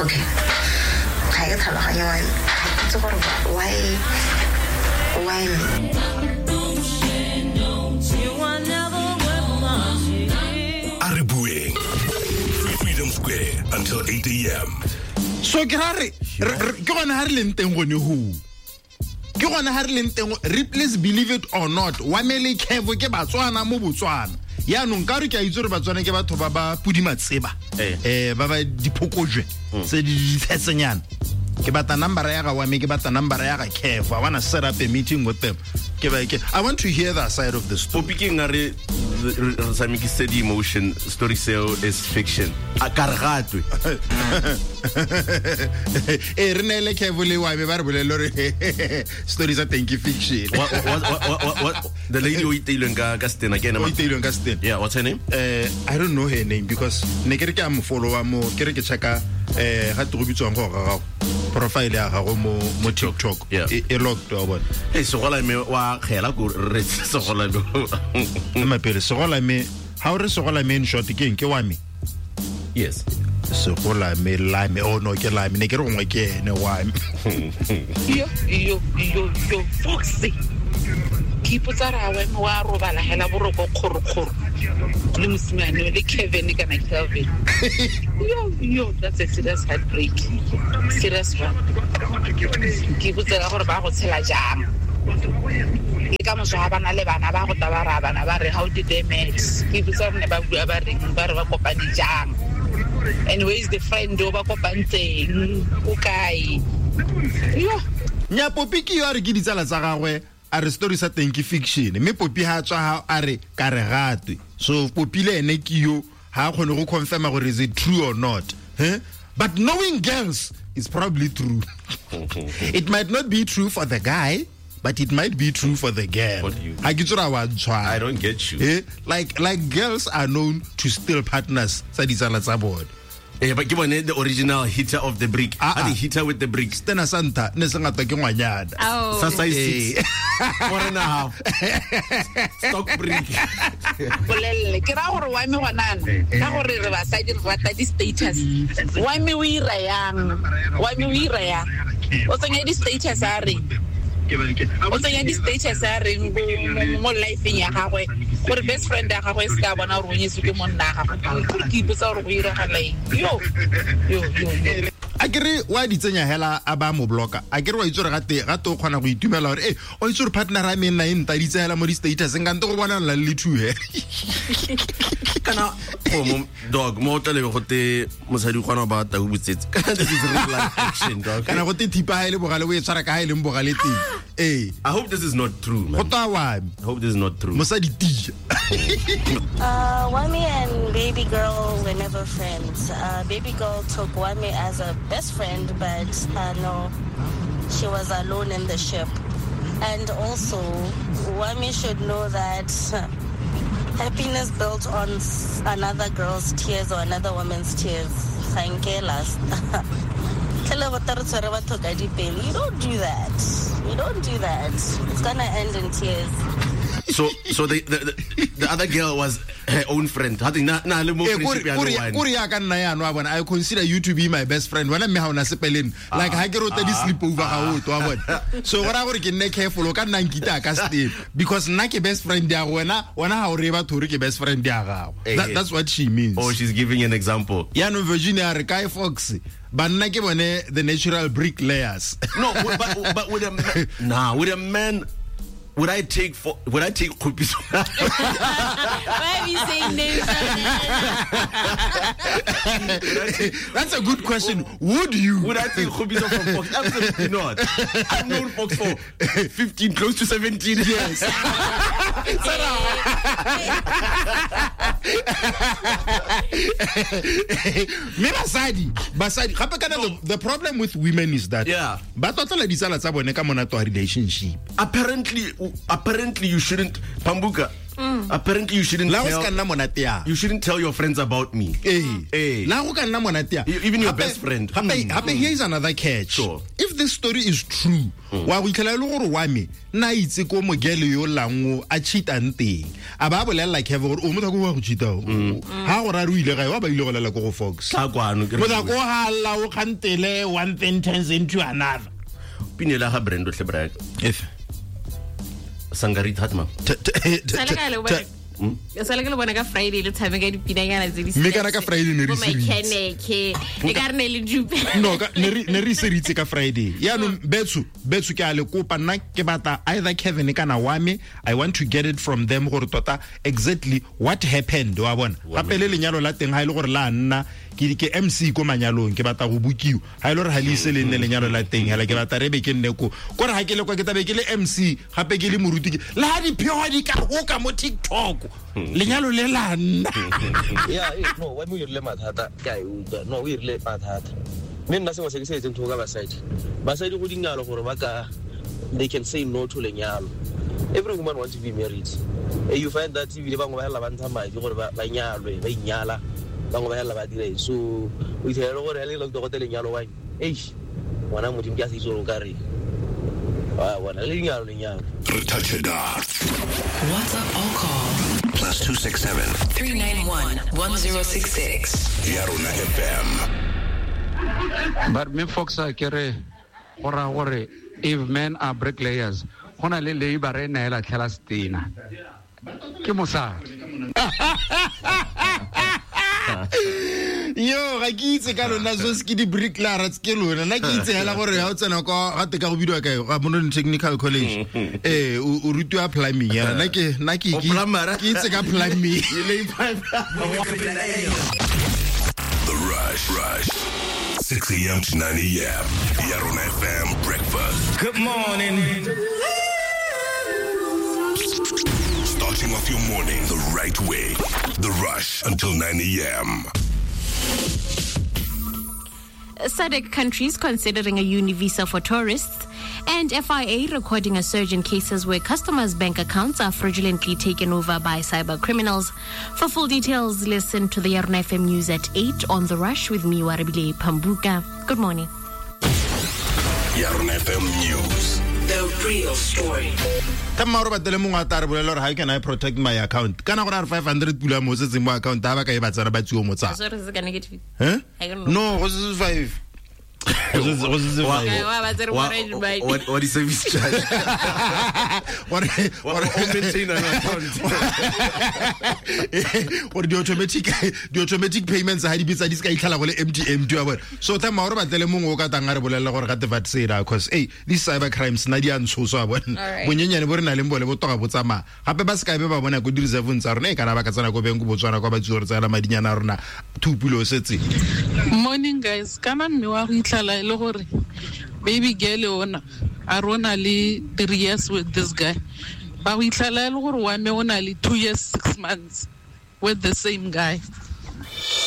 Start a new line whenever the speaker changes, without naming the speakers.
Okay, ga ke tlhaloganye why, ga ke itse gore why me.
A re bueng. Freedom Square until 8 a.m.
So ke ra re ke gone ha re leng teng gone ho. Ke gone ha re leng teng, Ripley's Believe It or Not, wa mele Kevo ke Batswana mo Botswana. Yaanong ka re ke a itse gore Batswana ke batho ba ba podimatseba. Ba ba diphokojwe tse di dithetsenyana. Ke batla number ya ga wa me, ke batla number ya ga Kevo. I want to set up a meeting with them. Ke ba ke I want to hear that side of the story.
Popi ke eng a re re tshamekisitse di-emotion, story seo is fiction. A ka re gatwe.
Re neele Kevo le wa me ba re bolelle gore story sa teng ke fiction.
What, the lady o iteilweng ka setena ke ene
O
mang?
iteilweng ka setena.
Yeah, what's her name?
I don't know her name because ne ke re ke a mo followa mo, ke re ke checka, ga te go bitswang go ga gago profile ya gago mo TikTok.
Yeah.
E locked wa bona.
Hey, segola me wa kgela ko re segola me.
Ema pele, segola me, ha o re segola me in short ke eng? Ke wa me?
Yes.
Segola me la me. Oh no, ke la me. Ne ke re gongwe ke ene wa me.
Yo, yo, yo, yo, Foxy. Ke ipotsa re a wa me wa robala hela boroko kgorokgoro. Le mosimane le Kevin kana Kelvin. Yo, yo, that's a serious heartbreak. Serious one. Ke ipotsa ka gore ba go tshela jang. Le ka moso ha ba na le bana ba go tla ba ra bana ba re how did they met? Ke ipotsa gore ne ba bua ba reng, ba re ba kopane jang. And where is the friend o ba kopantseng? O kae? Yo.
Nya Popi ke yo a re ke ditsala tsa gagwe, a re story sa teng ke fiction, mme Popi ha tswa ha a re ka re gatwe. So Popi le ene ke yo ha a kgone go confirma gore is it true or not. But knowing girls is probably true. It might not be true for the guy, but it might be true for the girl.
What do you
Ha ke tsora wa ntshwara.
I don't get you.
Like girls are known to steal partners tsa ditsala tsa bone.
But ke bone the original hitter of the brick.
Ah,
A the hitter with the brick.
Stena Santa ne se ngata ke ngwanyana.
Oh.
Sa size 6. 4.5. Stock brick.
Bolelle ke ra gore wa me gona na. Ka gore re basadi re rata di status. Wa me o ira yang? Wa me o ira yang? O tsenya di status a reng? O tsenya di status a reng mo life-eng ya gagwe? Gore best friend ya gagwe e se ka bona gore o nyetswe ke monna wa gagwe. Gore ke ipotsa gore go iragala eng. Yo, yo, yo, yo.
A ke re wa di tsenya hela a ba mo blocka. A ke re wa itse gore gate o kgona go itumela gore, o itse gore partner a me nna e ntaditse hela mo di-status, nka nte go bona lla le two he.
Kana go mo dog mo tla lebe gote mosadi o kgona go ba tau botsetse. Kana this is real life action, dog.
Kana gote thipa ha e le bogale o e tshwara ka ha e leng bogale teng.
I hope this is not true, man.
Go twa wa me.
I hope this is not true.
Mosadi tia.
Wami and baby girl were never friends. Baby girl took Wami as a best friend, but no, she was alone in the ship. And also, Wami should know that happiness built on another girl's tears or another woman's tears. Thank you, last. You don't do that. You don't do that. It's going to end in tears.
So the other girl was her own friend. I think na le mo friendship ya no one.
Kore ya ka nna ya no bona. I consider you to be my best friend. Wena mme ha ona sepeleng. Like ha ke rote di sleep over ga o to wa bona. So go ra gore ke nne careful o ka nna nkita ka step because nna ke best friend ya go wena, wena ha o re batho re ke best friend ya gago. That's what she means.
Oh, she's giving an example.
Ya no Virginia re kae Fox. Banna ke bone the natural bricklayers.
No, but with a nah, with a man, would I take for, would I take Khupiso?
Why are you saying names like that?
That's a good question. Would you?
Would I take Khupiso from Fox? Absolutely not. I've known Fox for 15, close to 17 years.
Me basadi, gape kana the problem with women is that
Yeah.
ba tlotlela ditsala tsa bone ka monate wa relationship.
Apparently you shouldn't, Pambuka, Apparently you shouldn't
La go
tell
se ka nna monate yang.
You shouldn't tell your friends about me.
Ee.
Ee.
La go ka nna monate yang.
Even your best friend.
Gape gape here is another catch.
Sure.
If this story is true, wa go itlhela e le gore wa me nna a itse ko mogele yo lango a cheatang teng. A ba bolelela Kev gore o motho wa go cheata o. Ha go ra re o ile gae wa ba ile go lela ko go Fox.
Tla kwano ke re
Motho ko hala o kgantele one thing turns into another.
Pine la ga Brando tle brag.
If
Sangari Thatma.
Sale ka le bona. Sale ke le bona ka Friday le tshameka dipinanyana tse di
Mme kana ka Friday ne re
Bo
seritse.
mekhenekhe. E ka re ne le dupe.
No, ka ne re seritse ka Friday. Yaanong betso betso ke a le kopa nna ke batla either Kevin kana wame, I want to get it from them gore tota exactly what happened, wa bona. Gape le lenyalo la teng ha ile gore la nna ke MC ko manyalong ke batla go bokiwa. Ha ile gore ha le ise le nne lenyalo la teng hela ke batla rebe ke nne ko. Kore ha ke le kwa ke tabe ke le MC gape ke le moruti ke la ha diphego di ka hoka mo TikTok. Lenyalo le la nna.
Yeah, no, wa mo irile mathata ke a e utlwa. No, o irile mathata. Mme nna sengwe se ke se etseng thoko ka basadi. Basadi go dingalo gore ba ka they can say no to lenyalo. Every woman wants to be married. You find that ebile bangwe ba hela ba ntsha madi gore ba nyalwe, ba inyala, bangwe ba hela ba dira eng. So o itlhela gore ha le le go lenyalo wa eish ngwana modimo ke a se itse gore o ka reng. Wa bona le lenyalo lenyalo.
Touch it up.
WhatsApp or call
+267
391 1066.
Yarona FM.
But me folks are kere gora gore if men are bricklayers, gona le labor e neela tlhela stina. Ke mosadi.
Yo, ga ke itse ka lona so se ke di bricklayer ke lona. Nna ke itse hela gore ha o tsena kwa ga teka go bidiwa kae ga Mononi Technical College. O rutiwa plumbing ya. Nna ke nna ke ke itse ka plumbing.
The Rush Rush 6 a.m. to 9 a.m. Yarona FM breakfast.
Good morning.
Starting off your morning the right way. The Rush until 9 a.m.
SADC countries considering a uni visa for tourists, and FIA recording a surge in cases where customers' bank accounts are fraudulently taken over by cyber criminals. For full details, listen to the Yarona FM News at 8 on The Rush with me, Warabile Pambuka. Good morning.
Yarona FM News.
The real story.
Ka mmago batele mongwe a tla re bolela gore how can I protect my account? Kana gore a re 500 pula mo setseng mo account ha ba ka e ba tsena ba tsiwa mo tsa.
Sorry, se ka negative.
Eh?
I don't know.
No, go se 5. Go se 5.
Wa ba tsere mo
What is service charge?
Gore
Or maintain an account.
Gore di automatic payments ha di bitsa di se ka itlhala go le MTM wa bona. So tha mmago batlele mongwe o ka tang a re bolela gore ga te vat sera cause hey, these cyber crimes na di a ntshoso wa bona.
Alright.
Bonyenyane bo re na leng bole bo toga bo tsamaya. Gape ba se ka be ba bona ko di reserve tsa rona e kana ba ka tsena ko beng ko Botswana kwa ba tsuo re tsela madinyana a rona two pulo setse.
Morning guys, kana mme wa go itlhala e le gore baby girl ona a rona le 3 years with this guy. Ba go itlhala e le gore wa me o na le 2 years 6 months with the same guy.